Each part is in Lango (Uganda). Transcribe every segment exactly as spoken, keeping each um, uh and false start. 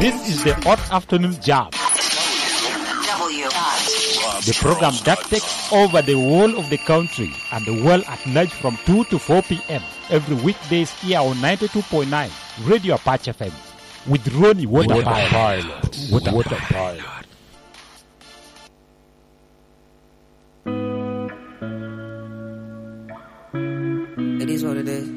This is the Hot Afternoon Jam. The program that takes over the whole of the country and the world at large from two to four p.m. every weekdays here on ninety-two point nine Radio Apache F M with Ronnie Water Pilot. Water Pilot. It is what it is.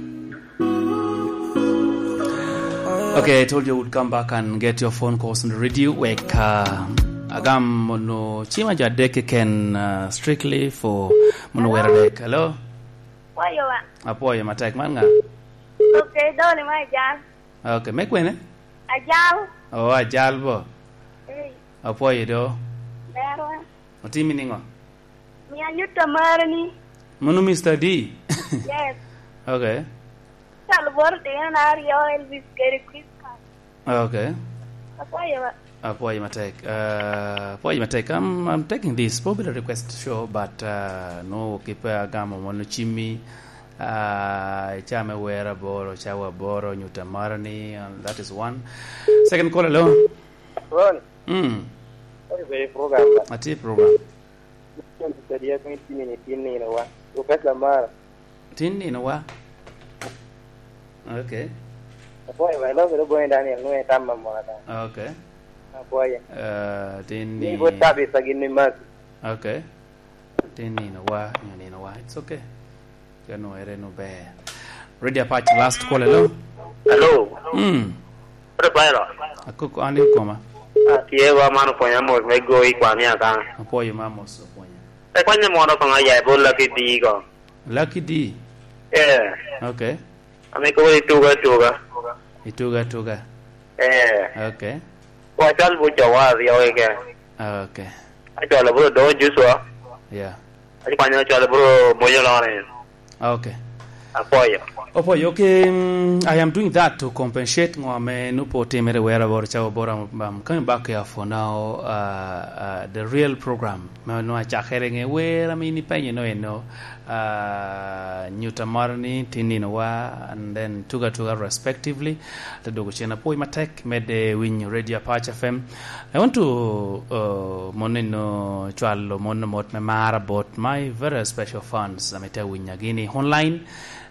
Okay, I told you I would come back and get your phone calls on the radio. Wek, uh, agam mono cima jo adek keken, uh, strictly for mono wera dek. Hello? Apwoyo wa. Apwoyo matek, man nga? Okay, doni ma ajal. Okay, me kwene? Ajal. Oh, ajal bo. Eh. Apwoyo do. Berwa. Otimi niŋo? Mia nyutta mare ni. Mano Mister D? Yes. Okay. Calo boro tino na aryo Elvis kede Chris Kyle. Okay. Apwoyo ba. Apwoyo matek. Uh, apwoyo matek. I'm, I'm taking this. Probably a request show, but, uh, no, keep, uh, agamo mono cimmi. Uh, icame wera boro, cawa boro, nyutta mare ni, and that is one. Second call, hello? Ron. Mm. Ori bere program ba. Ati program. Ken Peter Diaz ni tini ni tin nino wa. Professor Mara. Tin nino wa. Okay. Apwoyo ba, iloko do boy Daniel, nwe tam mamora da. Okay. Apwoyo. Uh, tin ni. Ni bo tabi sa gin ni mas. Okay. Tin nino wa, nyo nino wa. It's okay. Ka nwoŋere nu ber. Radio Apache, last call, hello? Hello. Mm. Ore Bairo. Akoko, an i koma. Atye wa man opwonya mos me go i kwan i Akana. Apwoyo ma mos opwonya. E kwanye mono koŋ aya i bot Lucky D ko. Lucky D? Eh. Okay. Ame kobo i tuga tuga. I tuga tuga. Eh. Okay. Kwa chal bu jawa aryo keken. Okay. Acwalo bro do Joshua. Yeah. Aci kwanyo acwalo bro Moyo Lawrence. Okay. Apwoyo. Apwoyo, okay, mm, I am doing that to compensate ŋo ame nupo timere wera boro cawa boro, um, um, coming back here for now, uh, uh, the real program. Ma nwa cakere ŋe wera mi ni penye no eno, uh, nyuta moro ni tin nino wa, and then tuga tuga respectively. Te dwogo cen apwoyo matek, medde winyo Radio Apache F M. I want to, uh, mon eno cwalo mon mot me mara bot my very special fans, ame te winyo gini online.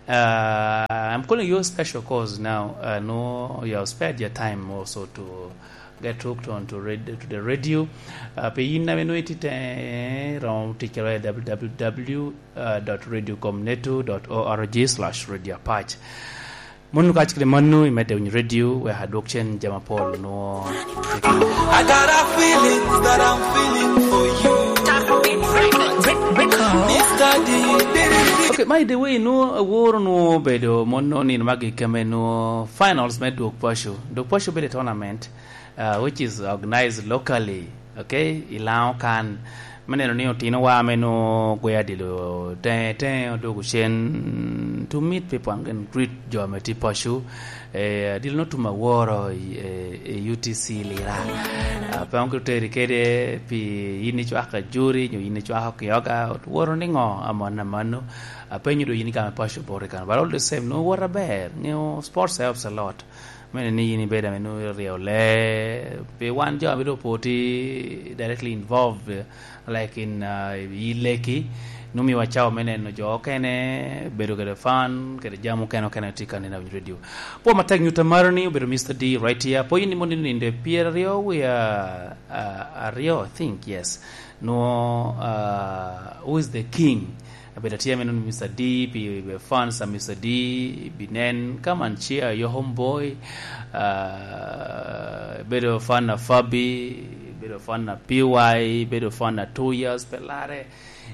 Uh, I'm calling you special 'cause now, uh, no, you have spared your time also to get hooked on to red-, to the radio. Uh, pe yin ame nwe tite, eh, rom tic kede w w w dot radio com netu dot org slash radio apache. Mano ka kede mano, imedde winyo radio, wek adwok cen jami apol nwo. I got a feeling that I'm feeling for you. Mister D. Okay, by the way, nwo aworo nwo bedo mono nino magi keme nwo finals me dwok paco. Dwok paco bedo tournament, uh, which is organized locally, okay, i Laŋo kan. Me neno ni otino wa ame nwo gwe adilo teŋe teŋe odwogo cen to meet people and greet jo ame tye paco. Eh, adilo no tum aworo i, eh, i U T C Lira. Ah, pe onge oteri kede pi yin icwako ajuri, nyo yin icwako kioga, woro ni ŋo amon amano. Apenyo do yin igamo paco boro i kano. But all the same, nwo woro aber. Ŋeo sports helps a lot. Mene ni yin ibedo ame nwoŋo iryeyo lee, pi wan jo ame doŋ pwod tye directly involved, like in, uh, i leki, nwoŋo miwa cawa me neno jo okene, bedo kede fan, kede jami okene okene tye ka neno i radio. Pwod matek nyuta maro ni obedo Mister D right here. Pwod yin imono nino ninde pyeraryo wiye, uh, aryo, I think, yes. Nwoŋo, uh, who is the king? Abedo atye ame nwoŋo Mister D, pi, pi fans a Mister D, binen, come and cheer your homeboy. Uh, bedo fan a Fabi, bedo fan a P Y, bedo fan a Two Years, pe lare.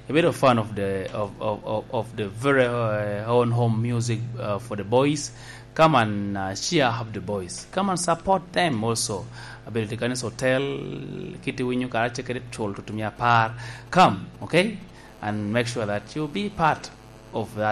Bedo fan of the, of, of, of, of the very, uh, own home music, uh, for the boys. Come and, uh, cheer up the boys. Come and support them also. Abedo i Kanisa Hotel, kit iwinyo kara ce kede cul tutumia apar. Come, okay? And make sure that you be part of that.